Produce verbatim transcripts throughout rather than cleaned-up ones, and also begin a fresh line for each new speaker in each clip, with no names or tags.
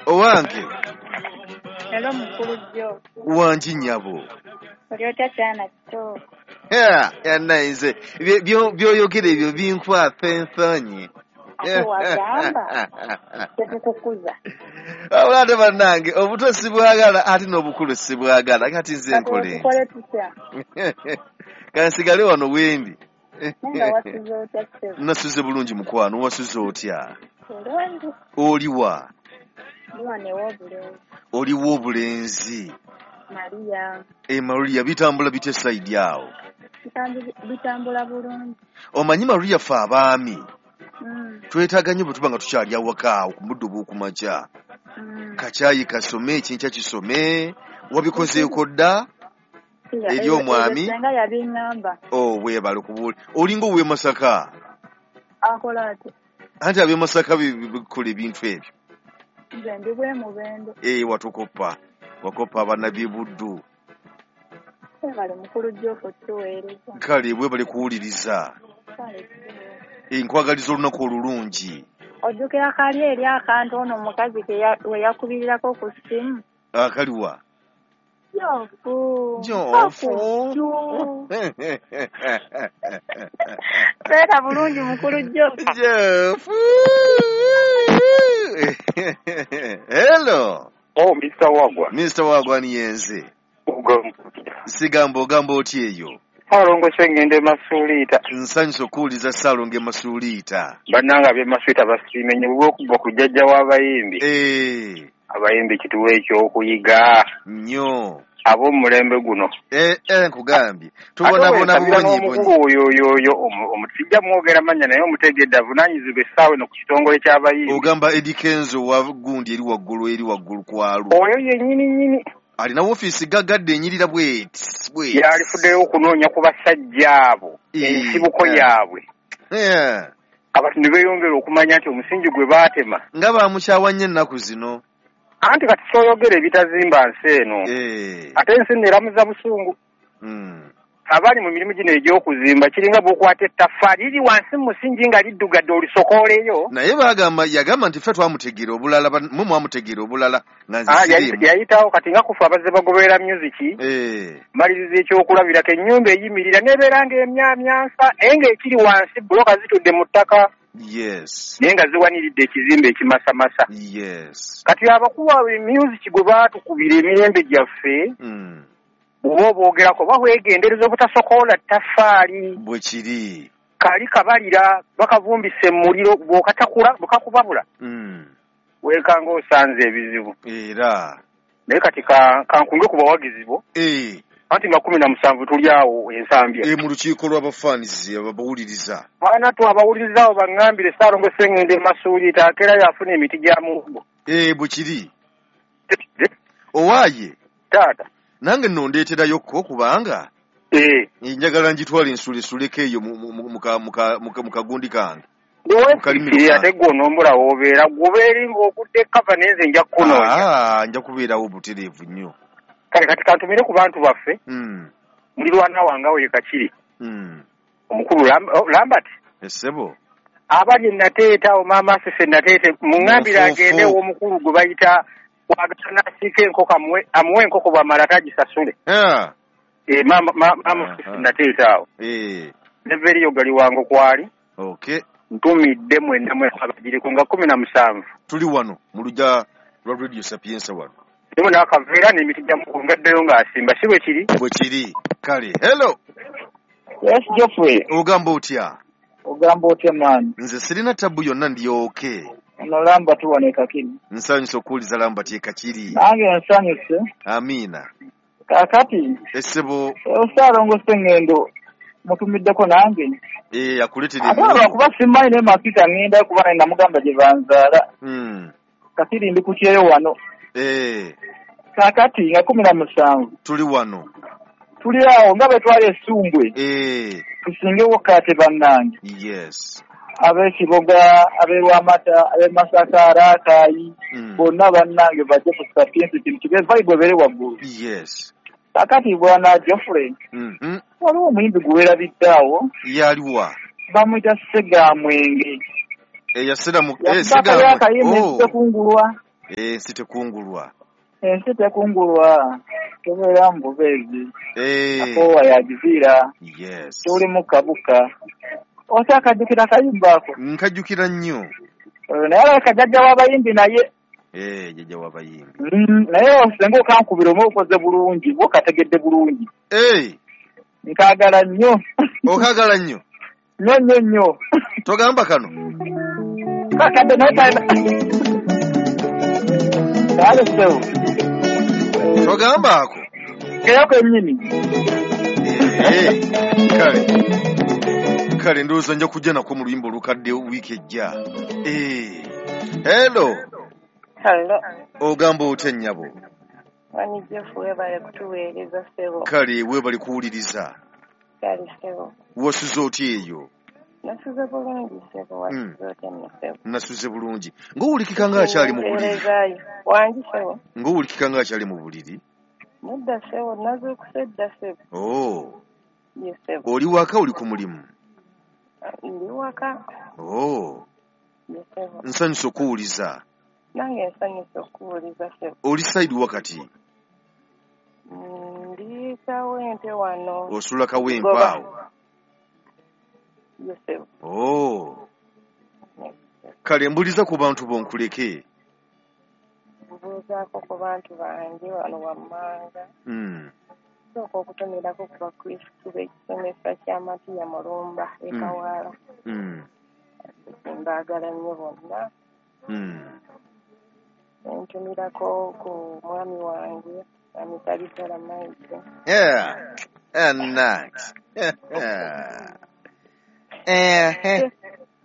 Owange.
Hello mukulu Jo.
Wangi nnyabo.
Oli otya kyana kito?
Yannaye by'oyogera ebyo binkwasa ensonyi.
Wagamba tetukukuza.
Wabula ate bannange obuto sibwagala ate n'obukulu sibwagala kati nze nkole.
Tukole tutya?
Kansigale wano wendi.
Nga wasuze otya ssebo?
Nasuze bulungi mukwano, wasuze otya?
Bulungi.
Oliwa?
Ndi wano ew'obulenzi.
Oliwa obulenzi?
Maria.
E Maria bitambula bitya sayidi awo?
Bitambula bulungi.
Omanyi Maria ffe abaami
Mm.
twetaaga nnyo bwe tuba nga tukyali awaka awo ku muddo obw'okumakya.
Mm.
Kakyayi kasome, ekinkya kisome, wabikozeeko dda eri omwami?
Senga yabiŋŋamba.
Oh, weebale kubuulira. Olinga ow'e Masaka?
Akola atya?
Anti ab'e Masaka bakola ebintu ebyo.
Nze ndi bwe Mubende.
Eh, watukoppa. Wakoppa abannabi Buddu.
Weebale mukulu Jofo tuweereza.
Kale weebale kuwuliriza.
Kale.
Nkwagaliza olunaku olulungi.
Ojjukira kali eri akantu ono omukazi we yakubirirako ku ssimu?
Akaliwa?
Jofu.
Jofu.
Beera bulungi mukulu Jofu.
Jofu. Hello.
Oh, Mister Wagwa.
Mister Wagwa ni yenze. Sigamba ogamba otya eyo?
Ssalongo Ssengendo e Masuliita.
Nsanyuse okuwuliza Ssalongo e Masuliita.
Bannange ab'e Masuliita basiime nnyo olw'okuva ku jjajja w'abayimbi.
Eh.
Abayimbi kituwa ekyokuyiga.
Nnyo.
Ab'omulembe guno.
Eh, eh, nkugambye. Tubonaabona buwonyibonyi.
Omukulu oyo oyo oyo omusijja mwogera mannya naye omutegedde avunaanyizibwa essaawa eno ku kitongole ky'abayimbi.
Ogamba Eddy Kenzo wa gundi eri waggulu eri waggulu kwalu.
Oyo yennyini nnyini.
Alina woofiisi gaggadde enyirira bweti bweti.
Yalifuddeyo okunoonya ku basajja abo ensibuko yaabwe. Abantu ne beeyongera okumanya nti omusingi gwe baatema.
Nga baamukyawa nnyo ennaku zino.
Anti kati ky'oyogera ebitazimba nsi eno. Ate ensi nno eramuza busungu. Abali mu mirimu gino egy'okuzimba kiringa bw'okwata ettaffaali liri wansi mu musingi nga liddugadde olisokooleyo.
Naye baagamba yagamba nti ffe twamutegeera obulala mwe mwamutegeera obulala nga nze siriimu.
Yayitawo kati nga kufa abazze bagoberera music. Maliriza ekyokulabirako ennyumba eyimirira n'ebeera ng'emyamyansa naye ng'ekiri wansi buloka zitudde mu ttaka.
Yes.
Naye nga ziwaniridde ekizimbe ekimasamasa.
Yes.
Kati abakuwa music gwe baatukubira emirembe gyaffe.
Mm.
Oba obwogerako bahwegendereza obutasokoola ttaffaali.
Bwe kiri.
Kali kabalira bakavumbisa emmuliro bw'okatakula bwekakubabula.
Mm.
Weekanga osanze ebizibu.
Era.
Naye kati kankunge ku bawagizi bo.
Eh.
Anti nga kumi na musanvu tuli awo ensambya.
Eh, mu lukiiko lw'abafaanizi abawuliriza.
Baana tu abawuliriza abo baŋŋambire Ssalongo Ssengendo e Masuliita akeera yafuna emiti gya muwogo.
Eh, bwe kiri. Owaaye.
Taata.
Nange nno ndeeterayo ko kubanga
eh
njagala njitwale nsulesuleko eyo mu kagundi kange.
Ate gwe onombula w'obeera gw'obeera ng'okudde ekkava naye nze nja kukunoonya.
Ah, nja kubeerawo butereevu nnyo.
Kale kati kantumire ku bantu baffe.
Mm.
Mulirwana wange awo ye Kakiri.
Mm.
Omukulu Lambert.
Essebo.
Abali Nateete awo maama Asese Nateete muŋŋambire agende ew'omukulu gwe bayita wagana asiika enkoko amuwe enkoko bw'amala tagisasule. Eh, maama maama Nateete awo.
Eh.
Neveriyo gali wange kwali.
Okay.
Ntumidde mwenna mwe abagireko nga kumi na musanvu.
Tuli wano mu lujja lwa Radio Sapienza wano.
Ndimo n'akaveera n'emiti gya muwogo ngaddeyo ng'asimba si bwe kiri?
Bwe kiri. Kale. Hello.
Yes, Geoffrey.
Ogamba otya?
Ogamba otya man?
Nze sirina tabu yonna ndi okay.
Ono Lambert wano e Kakiri.
Nsanyuse okuwuliza Lambert e Kakiri.
Nange nsanyuse.
Amiina.
Kaakati.
Essebo.
Ssalongo Ssengendo mutumiddeko nange.
Eh, akuleetera
emiwendo. Ate lwakuba simanyi naye Masuliita ŋŋenda kuba naye namugamba gye banzaala.
Mm.
Kakiri ndi ku kyeyo wano.
Eh.
Kaakati nga kumi na musanvu.
Tuli wano.
Tuli awo nga bwe twali essumbwe.
Eh.
Tusingewo kaate bannange.
Yes.
Ab'ekiboga, ab'e Lwamata, ab'e Masaka, Raakaayi, bonna bannange bajje ku Sapienza kintu kibe vibe ebeere waggulu.
Yes.
Kaakati bwana Geoffrey.
Mm-hmm.
Waliwo omuyimbi gwe weerabidde awo.
Yaliwa.
Bamuyita Ssegamwenge.
Eyasera mu
eh Ssegamwenge. Oh. Sekungulwa.
Ensi tekungulwa.
Ensi tekungulwa. Tobeera mu bubeezi. Akoowa yagiviira.
Yes.
Toli mukabuka. Okyakajjukira akayimba ako?
Nkajjukira nnyo.
Naye alabika jjajja w'abayimbi naye.
Eh, jjajja w'abayimbi.
Naye osenga okankubira omu okoze bulungi, bwo kategedde bulungi.
Eh.
Nkaagala nnyo.
Okaagala nnyo?
Nnyo nnyo nnyo.
Togamba kano?
Kakadde naye kalina. Kale ssebo.
Togamba ako?
Keyo kennyini.
Eh, kale. Kale ndowooza nja kujja nako mu luyimba olukadde wiiki ejja. Eh. Hello.
Hello.
Ogamba otya nnyabo?
Wani Jeff weebale kutuweereza ssebo.
Kale weebale kuwuliriza.
Kale ssebo.
Wasuze otya eyo?
Nasuze bulungi ssebo, wasuze otya nno ssebo?
Nasuze bulungi. Ng'owulikika ng'akyali mu buliri.
Wangi ssebo.
Ng'owulikika ng'akyali mu buliri.
Nedda ssebo, nazuukuse dda ssebo.
Oh.
Ye ssebo.
Oli waka oli ku mulimu?
Ndi waka.
Oh.
Ye ssebo.
Nsanyuse okuwuliza.
Nange nsanyuse okuwuliza ssebo.
Oli sayidi wakati?
Ndi Kawempe wano.
Osula Kawempe awo?
Ye ssebo.
Oh. Kale mbuliza ku bantu bo nkuleke.
Mbuuzaako ku bantu bange wano wammanga.
Mm.
Sooka okutomerako ku bakristu b'ekisomesa kya Matiya Mulumba e Kawaala.
Mm.
Mbaagala nnyo bonna.
Mm.
Ntumirako ku mwami wange Amisabisala Mike.
Yeah. And next. Eh.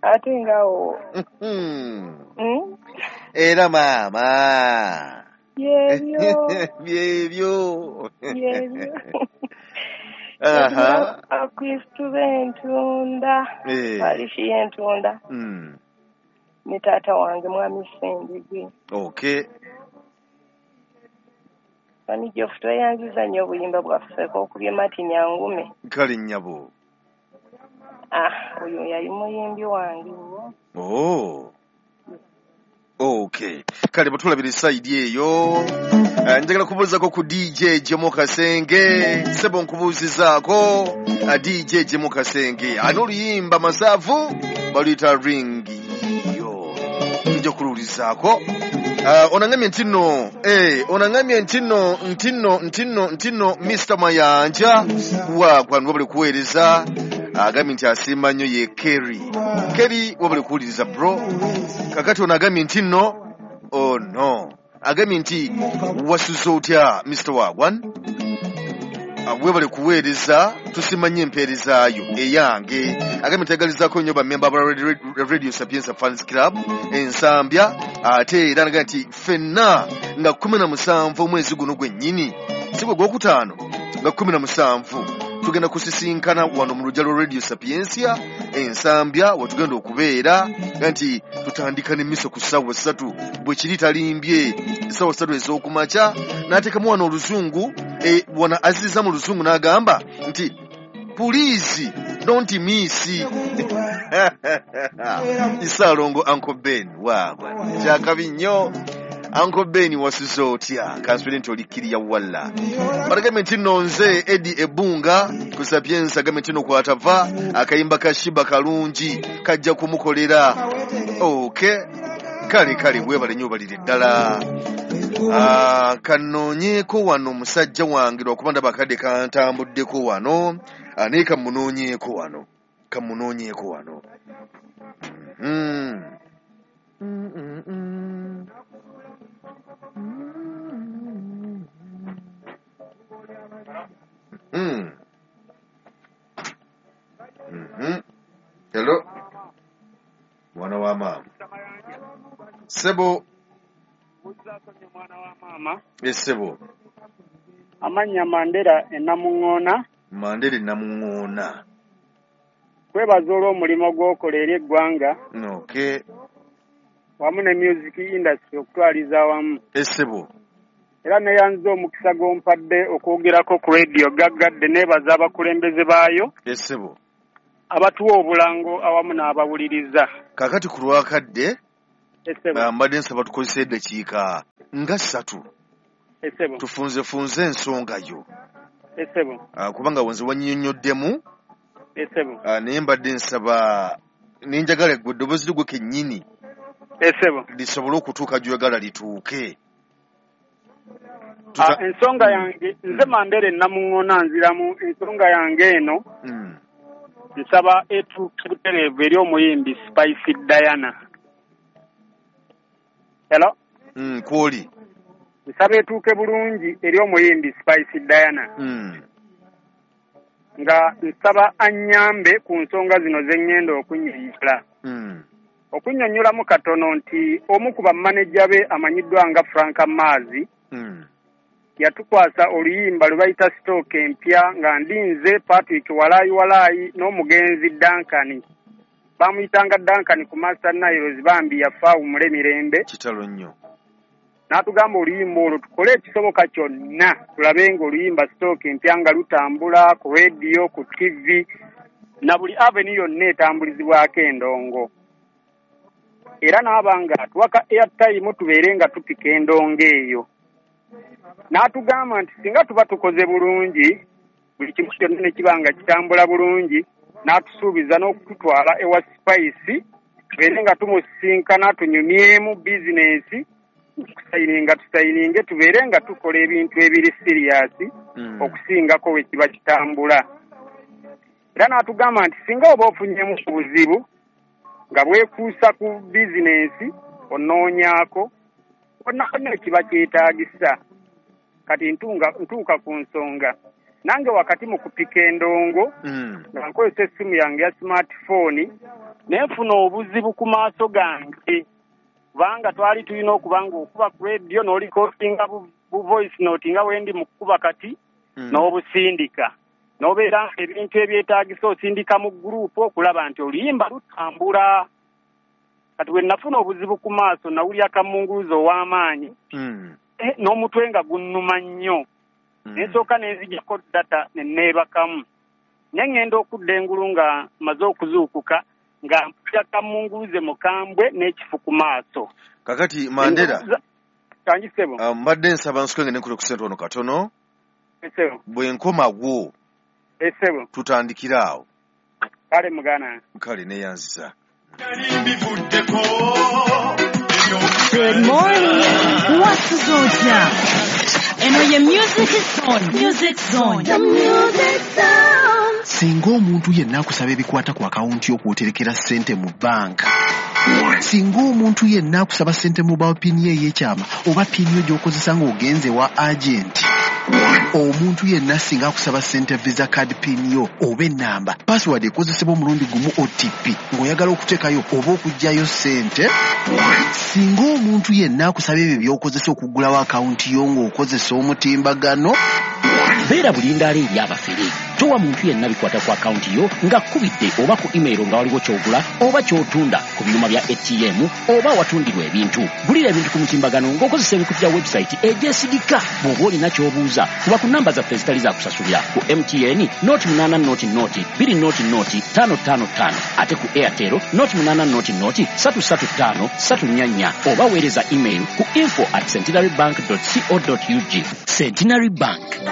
Ate ngaawo.
Mm. Era maama.
Byebyo.
Byebyo.
Byebyo.
Aha.
Abakristu b'Entunda. Parish y'Entunda.
Mm.
Ne taata wange mwami Ssendigi.
Okay.
Wani Jeff tweyanziza nnyo obuyimba bwaffe okubye Martin Angume.
Kale nnyabo.
Ah, oyo yali muyimbi wange nnyo.
Oh. Okay. Kale bwetulabira sayidi eyo. Njagala kubuuzaako ku D J Jemo Kasenge. Ssebo nkubuuzizaako D J Jemo Kasenge. Ani oluyimba masavu baluyita ring yo. Nja kuluwulizaako. Uh, onangamye nti nno eh, onangamye nti nno nti nno nti nno nti nno Mister Mayanja wagwa wabale kuweereza agambye nti asiima nnyo ye Kerry. Kerry wabale kuwuliriza bro. Kakati ono agambye nti nno oh no agambye nti wasuze otya Mister Wagwan webale kuweereza tusiima nnyo empeerezaayo eyange. Agambye nti ayagalizaako nnyo bammemba ba Radio Sapienza Fans Club Ensambya ate era nagambye nti ffenna nga kkumi na musanvu omwezi guno gwennyini si gwe gwokutaano nga kkumi na musanvu tugenda kusisinkana wano mu lujja lwa Radio Sapientia Ensambya wetugenda okubeera nti tutandika n'emiso ku ssaawa ssatu bwe kiri talimbye essaawa ssatu ez'okumakya n'ateekamu wano oluzungu e, wano aziriza mu luzungu n'agamba nti please don't miss Isaalongo Uncle Ben waagwa kyakabi nnyo. Uncle Ben wasuze otya? Kansubire nti olikkiriya walla. Balagambe nti nno nze Eddie Ebunga ku Sapienza agambe nti nno kwatava akayimba ka Shiba kalungi kajja kumukolera. Okay. Kale kale weebale nnyo obalire ddala. Ah, kanoonyeeko wano omusajja wange lwakuba ndaba akadde kantambuddeko wano. Ah, naye kamunoonyeeko wano. Kamunoonyeeko wano. Mm. Mm, mm, mm. Mm. Mm-hmm. Hello. Mwana wa mama. Sebo.
Mwana wa mama.
Yes, sebo.
Amanya Mandela enamuŋŋoona.
Mandela enamuŋŋoona.
Kwebaza olw'omulimu gw'okola eri eggwanga.
Okay.
Wamu ne music industry okutwaliza awamu.
Esebo.
Era neyanziza omukisa gw'ompadde okwogerako ku radio gaggadde neebaza abakulembeze baayo.
Esebo.
Abatuwa obulango awamu n'abawuliriza.
Kaakati ku lwakadde Mbadde nsaba tukozese eddakiika nga ssatu tufunzefunze ensonga yo, kubanga wenze wannyonnyoddemu, naye mbadde nsaba nenjagala gwe eddoboozi lyo kennyini lisobole okutuuka gy'oyagala lituuke.
Ensonga yange nze Mandela Namuŋŋoona nziramu. Ensonga yange eno nsaba etuuke butereevu eri omuyimbi Spice Diana. Hello?
Mm, kwoli.
Nsaba etuuke bulungi eri omuyimbi Spice Diana.
Mm.
Nga nsaba annyambe ku nsonga zino ze ŋŋenda okunnyonnyola.
Mm.
Okunnyonnyolamu katono nti omu ku bamaneja be amanyiddwa nga Frank Maazi
mm.
yatukwasa oluyimba lwe bayita Sitooko Empya nga ndinze Patrick Walaayi Walaayi n'omugenzi Duncan. Bamuyitanga Duncan ku Master Niles, bambi yafa awummule mirembe.
Kitalo nnyo.
N'atugamba oluyimba olwo tukole ekisoboka kyonna tulabe ng'oluyimba Sitooko Empya nga lutambula ku rediyo, ku T V na buli avenue yonna etambulizibwako endongo. Era n'aba nga atuwaka airtime tubeere nga tupika endongo eyo. N'atugamba nti singa tuba tukoze bulungi buli kimu kyonna ne kiba nga kitambula bulungi, n'atusuubiza n'okututwala ewa Spice tubeere nga tumusisinkana tunyumyemu bizinensi, tusayininga tusayininge tubeere nga tukola ebintu ebiri siriyasi
mm.
okusingako we kiba kitambula. Era n'atugamba nti singa oba ofunyemu obuzibu nga bwekuusa ku bizinensi onoonyaako wonna wonna ekiba kyetaagisa. Kati ntunga ntuuka ku nsonga nange wakati mu kupika endongo
mm.
nga nkozesa essimu yange ya smartphone ne nfuna obuzibu ku maaso gange, kubanga twali tulina okuba nga okuba ku rediyo n'olikodinga bu voice note nga wendi mu kukuba kati
mm.
n'obusindika n'obeera ebintu ebyetaagisa osindika mu gurupu okulaba nti oluyimba lutambula. Kati we nafuna obuzibu ku maaso nawulira kamunguluzo ow'amaanyi
mm.
eh, n'omutwe nga gunnuma nnyo.
Mm.
Nensooka nenzijjako data ne neebakamu, ne ŋŋenda okudda engulu nga mmaze okuzuukuka nga mpulira kamunguluze mukambwe n'ekifu ku maaso.
Kakati Mandela,
kangi ssebo,
mbadde nsaba nsukenge ne nkule ku ssente wano katono.
Ssebo.
Bwe nkomawo
ssebo
tutandikira awo.
Kale mugana.
Kale neeyanziza.
Good morning. What's Zotya? Eno ye Music Zone. Music Zone. The Music Zone.
Singa omuntu yenna akusaba ebikwata ku akawunti y'okwoterekera ssente mu banka, singa omuntu yenna akusaba ssente mobile pin ye ey'ekyama oba pin yo gy'okozesa ng'ogenze wa agenti, omuntu yenna singa akusaba ssente visa card pin yo oba ennamba, password ekozesebwa omulundi gumu O T P ng'oyagala okuteekayo oba okuggyayo ssente, singa omuntu yenna akusaba ebyo by'okozesa okuggulawo akawunti yo ng'okozesa omutimbagano,
beera bulindaala eri abafere. Towa muntu yenna bikwata ku akawunti yo nga kkubidde oba ku email nga waliwo ky'ogula oba ky'otunda ku byuma bya A T M oba awatundirwa ebintu. Gulira ebintu ku mutimbagano ng'okozesa emikutu gya website egyesigika. Bw'oba olina ky'obuuza kuba ku namba zaffe ezitali za kusasulira ku M T N noti munaana noti noti bbiri noti noti ttaano ttaano ttaano, ate ku Airtel noti munaana noti noti ssatu ssatu ttaano ssatu nnya nnya, oba weereza email ku info at centenarybank dot co dot ug. Centenary Bank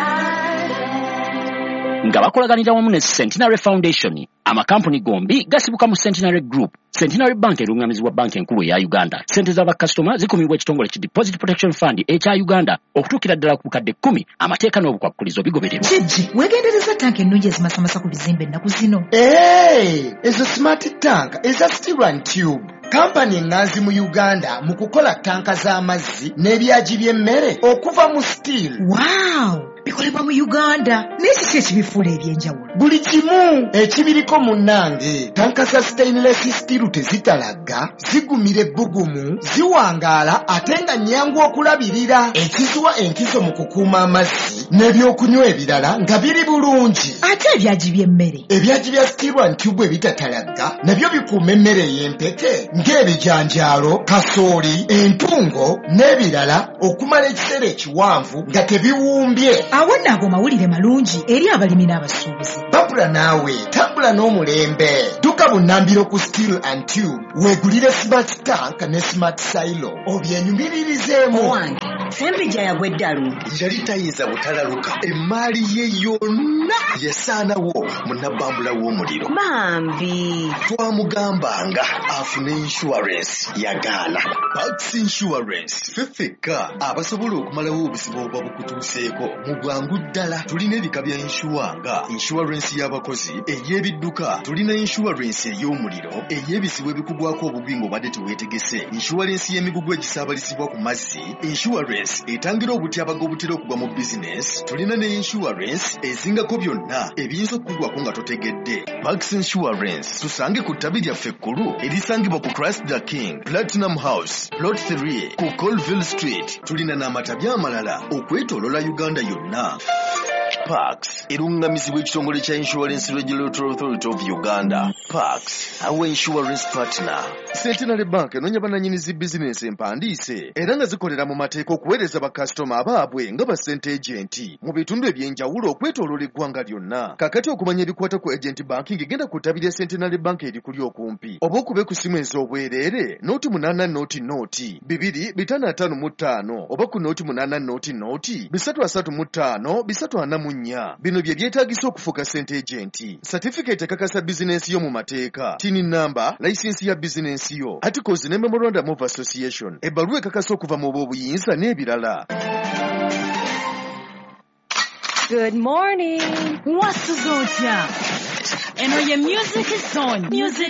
nga bakolaganira wamu ne Centenary Foundation. Amakampuni gombi gasibuka mu Centenary Group. Centenary Bank erungamizibwa banka enkulu eya Uganda. Ssente z'abakasitoma zikumibwa ekitongole ki Deposit Protection Fund ekya Uganda okutuukira ddala ku bukadde kkumi. Amateeka n'obukwakkulizo bigobererwa.
Kiki weegendereza tanka ennungi ezimasamasa ku bizimbe ennaku zino?
Ee, ezo smart tank eza steel and tube. Kampani eŋŋanzi mu Uganda mu kukola tanka z'amazzi n'ebyagi by'emmere okuva mu steel.
Wow! Bikolebwa mu Uganda. Naye kiki ekibifuula eby'enjawulo?
Buli kimu ekibiriko munnange. Tanka za stainless steel tezitalagga, zigumira ebbugumu, ziwangaala ate nga nnyangu okulabirira. Ekiziwa enkizo mu kukuuma amazzi n'ebyokunywa ebirala nga biri bulungi.
Ate ebyagi by'emmere?
Ebyagi bya steel and tube ebitatalagga nabyo bikuuma emmere ey'empeke ng'ebijanjaalo, kasooli, entungo n'ebirala okumala ekiseera ekiwanvu nga tebiwumbye.
Awo nno ago mawulire malungi eri abalimi n'abasuubuzi.
Babula naawe tambula n'omulembe. Dduka bunnambiro ku Steel and Tube weegulire smart tank ne smart silo obyenyumiririzeemu.
Owange, Ssempijja yagwa eddalu.
Yali tayinza butalaluka, emmaali ye yonna yasaanawo mu nabbambula w'omuliro.
Bambi.
Twamugambanga afune insurance, yagaana. Pax Insurance ffe ffekka abasobola okumalawo obuzibu obuba bukutuuseeko mu bwangu ddala. Tulina ebika bya insure nga insurance y'abakozi, ey'ebidduka, tulina insurance ey'omuliro, ey'ebizibu ebikugwako obugwi ng'obadde teweetegese, insurance y'emigugu egisaabalizibwa ku mazzi, insurance etangira obutyabaga obutera okugwa mu bizinesi, tulina ne insurance ezingako byonna ebiyinza okukugwako nga totegedde. Pax Insurance tusange ku ttabi lyaffe ekkulu erisangibwa ku Christ the King Platinum House Plot three ku Colville Street. Tulina n'amatabi amalala okwetooloola Uganda yonna. Pax erungamizibwa ekitongole kya Insurance Regulatory Authority of Uganda. Pax, our insurance partner. Centenary Bank enoonya bannannyini zi bizinensi empandiise era nga zikolera mu mateeka okuweereza bakasitoma abaabwe nga ba ssente agenti mu bitundu eby'enjawulo okwetooloola eggwanga lyonna. Kaakati okumanya ebikwata ku agent banking, genda ku ttabi lya Centenary Bank erikuli okumpi oba okube ku ssimu ez'obwereere nooti munaana nooti nooti bibiri bitaano ataano mu ttaano oba ku nooti munaana nooti nooti bisatu asatu mu ttaano bisatu ana mu nnya. Bino bye byetaagisa okufuuka ssente agenti: certificate ekakasa bizinensi yo mu mateeka, TIN number, layisinsi ya bizinensi yo, articles ne memorandum of association, ebbaluwa ekakasa okuva mu b'obuyinza n'ebirala.
Good morning. Wasuze otya? Eno ye Music Zone. Music